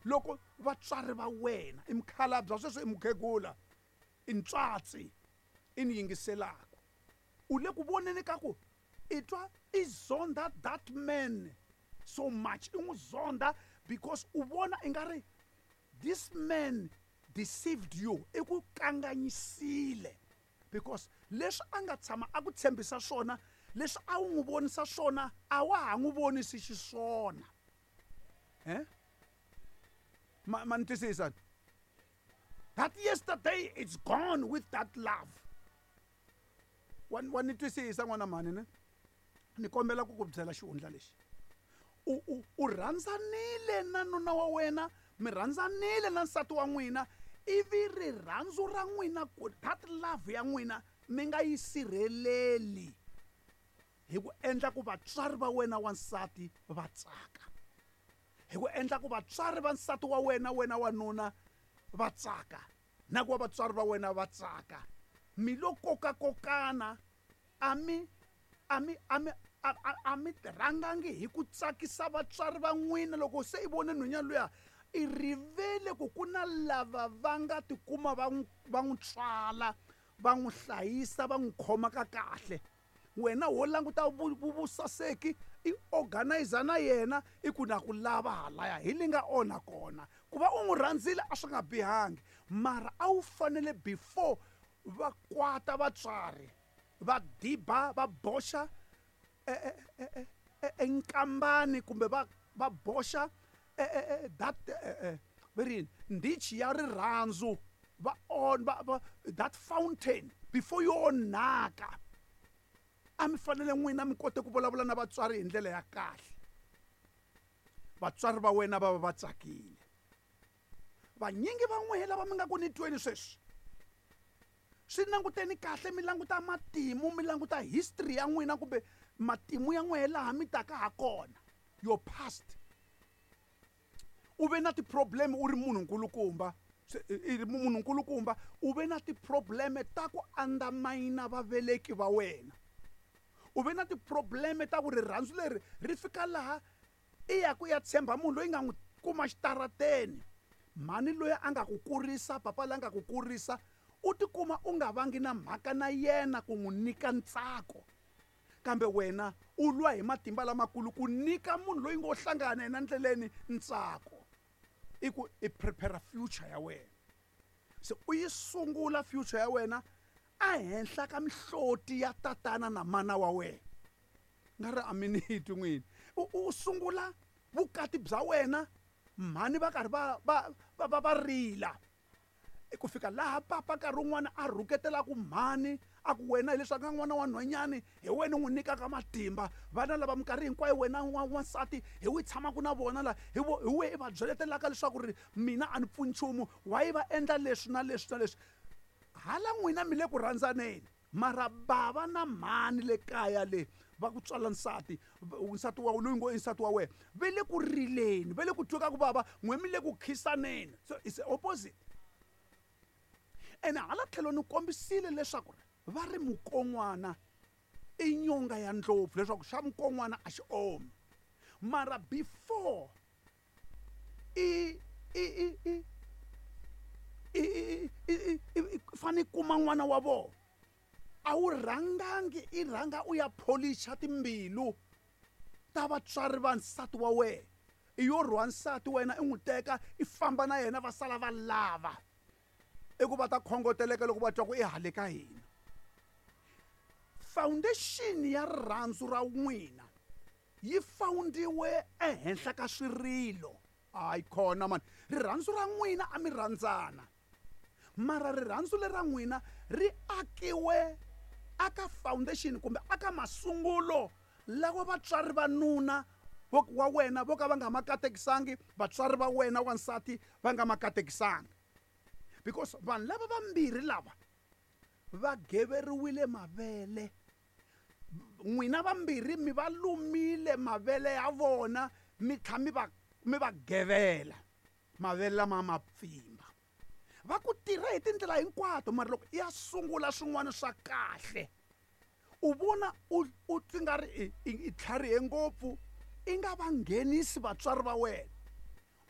Loko vatswari va wena i mukhalabye sweswo i mukhegula i ntswatsi i ni yingiselaka u le ku voneni ka ku i twa i zonda that man so much i n'wi zonda because u vona i nga ri this man deceived you i ku kanganyisile because leswi a nga tshama a ku tshembisa swona leswi a wu n'wi vonisa swona a wa ha n'wi vonisi xiswona eh ma ni twisisa? That yesterday, it's gone with that love. Wa ni twisisa, n'wana mhani? Ne ni kombela ku ku byela xihundla lexi. U rhandzanile na nuna wa wena, mi rhandzanile na nsati wa n'wina, ivi rirhandzu ra n'wina, that love ya n'wina, mi nga yi sirheleli hi ku endla ku vatswari va wena wansati va tsaka, hi ku endla ku vatswari va nsati wa wena, wena wanuna, va tsaka, na ku va vatswari va wena va tsaka. Mi lo kokakokana, a mi rhangangi hi ku tsakisa vatswari va n'wina. Loko se i vone nhwanyana luya, i rivele ku ku na lava va nga tikuma va n'wi tswala, va n'wi hlayisa, va n'wi khoma ka kahle. Wena wo languta vusaseki, i organizer na yena, i ku na ku lava halaya hi li nga onha kona. Ku va u n'wi rhandzile a swi nga bihangi, mara a wu fanele before va kwata vatswari va diba, va boxa enkambani kumbe va boxa that va ri yini, ndichi ya rirhandzu, va on va that fountain before yo onhaka. A mi fanele n'wina mi kote ku vulavula na vatswari hi ndlela ya kahle, vatswari va wena va va va tsakile. Vanyingi va n'wehe lava mi nga ku ni tweni sweswi, swi languteni kahle, mi languta matimu, mi languta history ya n'wina kumbe matimu ya n'wehe laha mi taka ha kona, your past. U ve na ti-problem u ri munhu nkulukumba, i ri munhu nkulukumba, u ve na ti-problem ta ku undermine vaveleki va wena. U ve na ti-problem ta ku rirhandzu leri ri fika laha i ya ku ya tshemba munhu loyi nga n'wi kuma xitarateni, mhani loyi a nga ku kurisa, papa loyi a nga ku kurisa, u tikuma u nga vangi na mhaka na yena ku n'wi nyika ntsako, kambe wena u lwa hi matimba lamakulu ku nyika munhu loyi ngo hlangana na yena ndleleni ntsako. I ku i prepare future ya wena, se u yi sungula future ya wena ehenhla ka mihloti ya tatana na mana wa wena. Nga ri a mi ni twi n'wini. U sungula vukati bya wena, mhani va karhi va rila, ku fika laha papa nkarhi wun'wana a rhuketelaku mhani, a ku wena hileswi a nga n'wana wa nhwanyani, hi wena u n'wi nyikaka matimba vana lava minkarhi hinkwayo, wena wansati hi wi tshamaka na vona la, hi we i va byeletelaka leswaku ri mina a ni pfuni nchumu, why va endla leswi na leswi na leswi. Hala n'wina mi le ku rhandzaneni, mara bava na mhani le kaya le va ku tswala nsati, nsati wa loyi ngo i nsati wa wena, ve le ku rileni, ve le ku tweka ku vava, n'we mi le ku khisaneni. So it's the opposite. Ene hala tlhelo ni kombisile leswaku va ri mukon'wana i nyonga ya ndlopfu, leswaku xa mukon'wana a xi omi. Mara before i fane kuma n'wana wa vona, a wu rhangangi i rhanga u ya pholicha timbilu ta vatswari va nsati wa wena. I yo rhwa nsati wena, i n'wi teka, i famba na yena, va sala va lava i ku va ta khongoteleka loko va twa ku i hale ka hina. Foundation ya rirhandzu ra n'wina yi foundiwe ehenhla ka swirilo. Hayi khona mani, rirhandzu ra n'wina a mi rhandzana, mara rirhandzu lera n'wina ri akiwe aka foundation kumbe aka masungulo lawa vatswari va nuna wa wena vo ka va nga ma katekisangi, vatswari va wena wansati va nga ma katekisangi, because vanhu lava vambirhi lava va geveriwile mavele. N'wina vambirhi mi va lumile mavele ya vona, mi tlha mi va gevela mavele lama ma pfimba. Va ku tirha hi tindlela hinkwato, mara loko i ya sungula swin'wana swa kahle, u vona u ti nga ri i tlharihe ngopfu, i nga va nghenisi vatswari va wena.